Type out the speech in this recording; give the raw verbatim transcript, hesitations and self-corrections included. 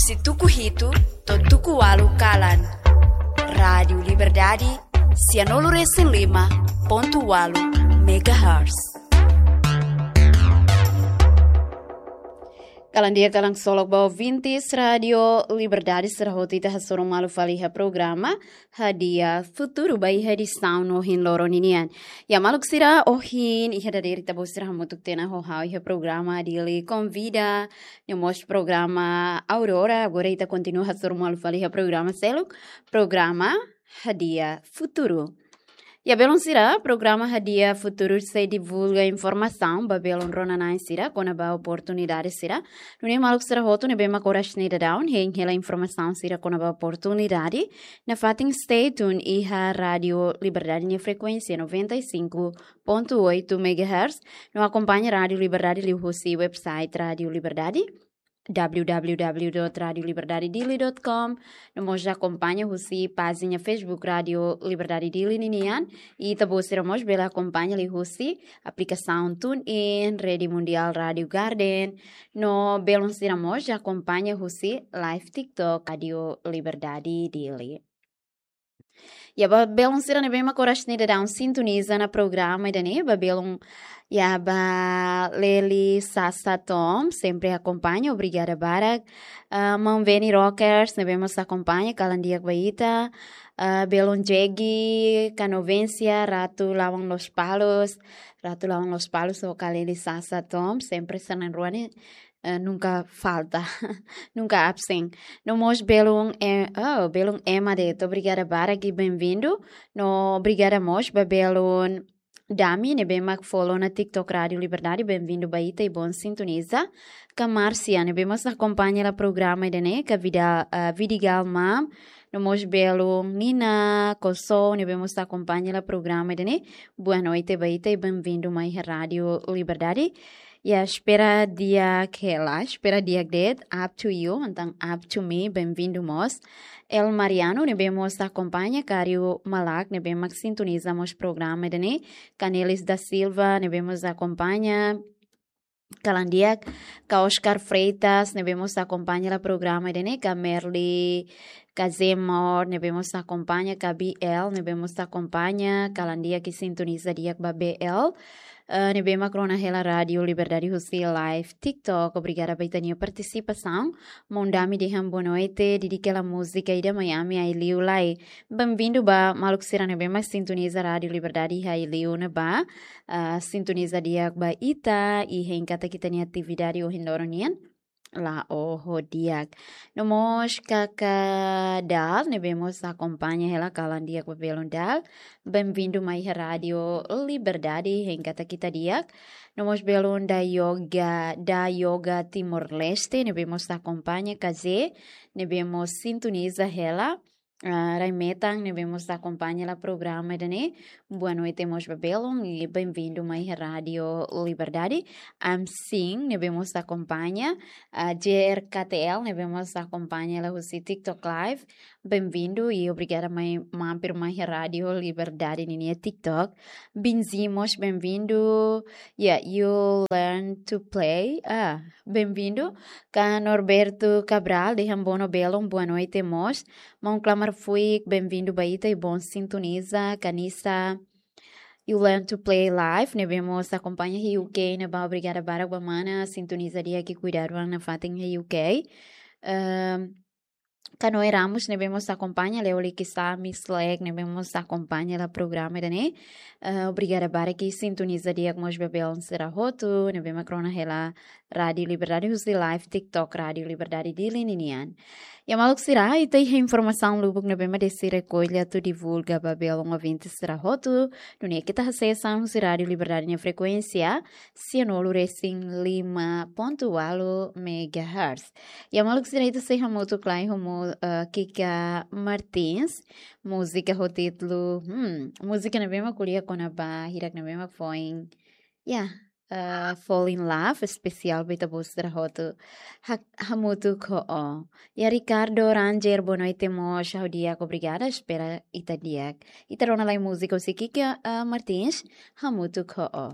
Husi tuku hitu to'o tuku ualu kalan. Rádiu Liberdade, sianulu resin lima pontu ualu megahertz. Kalan di'ak, kalan ksolok ba ouvintes Rádiu Liberdade sira hotu, ita hasoru malu fali iha programa Hadi'a Futuru ba iha edisaun ohin loron ninian. Ya maluk sira, ohin iha dadeer ita-boot sira hamutuk tiha ona ho ha'u iha programa Dili Konvida, no mós programa Aurora. Agora ita kontinua hasoru malu fali iha programa seluk, programa Hadi'a Futuru. Ya belun sira, programa Hadi'a Futuru sei divulga informasaun ba belun rona-na'in sira kona-ba oportunidade sira. Nune'e maluk sira hotu ne'ebé mak oras ne'e daudaun hein hela informasaun sira kona-ba oportunidade, nafatin stay tune iha Rádiu Liberdade nia frekuénsia noventa e cinco ponto oito megahertz, no akompaña Rádiu Liberdade liuhusi website Rádiu Liberdade, w w w dot radio liberdade dili dot com, no mós akompaña husi pájina Facebook Rádiu Liberdade Dili ninian, i ita-boot sira mós bele akompaña liuhusi aplikasaun TuneIn, Rede Mundial Rádiu Garden, no belun sira mós akompaña husi live TikTok Rádiu Liberdade Dili. Ya ba belun sira ne'ebé mak oras ne'e daudaun sintoniza ona programa ida-ne'e, ba belun, ya ba Leli Sasa Tom, sempre akompaña, obrigada barak. Ah, Maun Veni Rockers ne'ebé mós akompaña, kalan di'ak ba ita. Ah, belun Jegi, Kanovensia, Ratu Lawang Lospalos, Ratu Lawang Lospalos ho Leli Sasa Tom, sempre sira na'in-rua ne'e, eh, nunka falta, nunka absen. No mós belun, eh, oh, belun Emma Deto, obrigada barak i bem-vindo. No obrigada mós ba belun Dami, ne'ebé mak follow ona TikTok Rádiu Liberdade, bem-vindo ba ita i bom sintoniza. Ka Márcia, ne'ebé mós akompaña hela programa ida-ne'e, ka Vida, ah, Vidigal Mam, no mós belun Nina Koso, ne'ebé mós akompaña hela programa ida-ne'e. Boa noite ba ita i bem-vindo mai iha Rádiu Liberdade. Ya, espera di'ak hela, espera di'ak de'it, up to you, entaun up to me, bem-vindo mós. El Mariano, ne'ebé mós akompaña, Kario Malak, ne'ebé mak sintoniza mós programa ida-ne'e. Canelis da Silva, ne'ebé mós akompaña, kalan di'ak. Ka Oscar Freitas, ne'ebé mós akompaña hela programa ida-ne'e, ka Merli, ka Zemor, ne'ebé mós akompaña, ka B L, ne'ebé mós akompaña, kalan di'ak i sintoniza di'ak ba B L. Eh, ne'ebé mak rona hela Rádiu Liberdade husi live TikTok. Obrigada ba ita-nia partisipasaun. Maun Dami dehan boa noite, didik hela múzika ida Miami ai liu lai. Bem-vindo ba maluk sira ne'ebé mak sintoniza Rádiu Liberdade iha ai liu ne'ebá. Ah, sintoniza di'ak ba ita i hein katak ita-nia atividade ohin loron nian la'o ho di'ak. No mós Kaka Dal, ne'ebé mós akompaña hela, kalan di'ak ba belun Dal. Bem-vindo mai iha Rádiu Liberdade, hein katak ita di'ak. No mós belun Da Yoga, Da Yoga Timor-Leste, ne'ebé mós akompaña, Kaze, ne'ebé mós sintoniza hela. Ah, rai-metan ne'ebé mós akompaña hela programa ida-ne'e. Boa noite mós ba belun i bem-vindo mai iha Rádiu Liberdade. Amsin ne'ebé mós akompaña, ah, J R K T L ne'ebé mós akompaña hela husi TikTok Live. Bem-vindo i obrigada mai mampir mai iha Rádiu Liberdade ninia TikTok. Binzi mós bem-vindo. Ya, you learn to play. Ah, bem-vindo. Ka Norberto Cabral dehan boa no belun, boa noite mós. Maun Klamar Fuik, bem-vindo ba ita i bom sintoniza. Kanisa, you learn to play live, ne'ebé mós akompaña iha U K ne'ebá, obrigada barak ba mana, sintoniza di'ak i kuidadu an nafatin iha U K. Ehm, Kanoe Ramos, ne'ebé mós akompaña, Leo Likisá, Miss Leg, ne'ebé mós akompaña hela programa ida-ne'e. Eh, obrigada barak i sintoniza di'ak mós ba belun sira hotu, ne'ebé mak rona hela Rádiu Liberdade husi live TikTok Rádiu Liberdade Dili ninian. Ya maluk sira, ita iha informasaun lubuk ne'ebé mak desi rekolla atu divulga ba belun ouvinte sira hotu, nune'e keta hasees an husi Rádiu Liberdade nia frekuénsia, sianulu resin lima pontu ualu megahertz. Ya maluk sira, ita sei hamutuk lai ho mu-, eh, Kika Martins, múzika ho títulu, hmm, múzika ne'ebé mak ko'alia kona-ba hirak ne'ebé mak foin. Ya, eh, Fall in Love, espesiál ba ita-boot sira hotu. Ha-, hamutuk ho ó. Ya Ricardo Ranger, boa noite mós, ha'u di'ak, obrigada, espera ita di'ak. Ita rona lai múzika husi Kika, eh, Martins, hamutuk ho ó.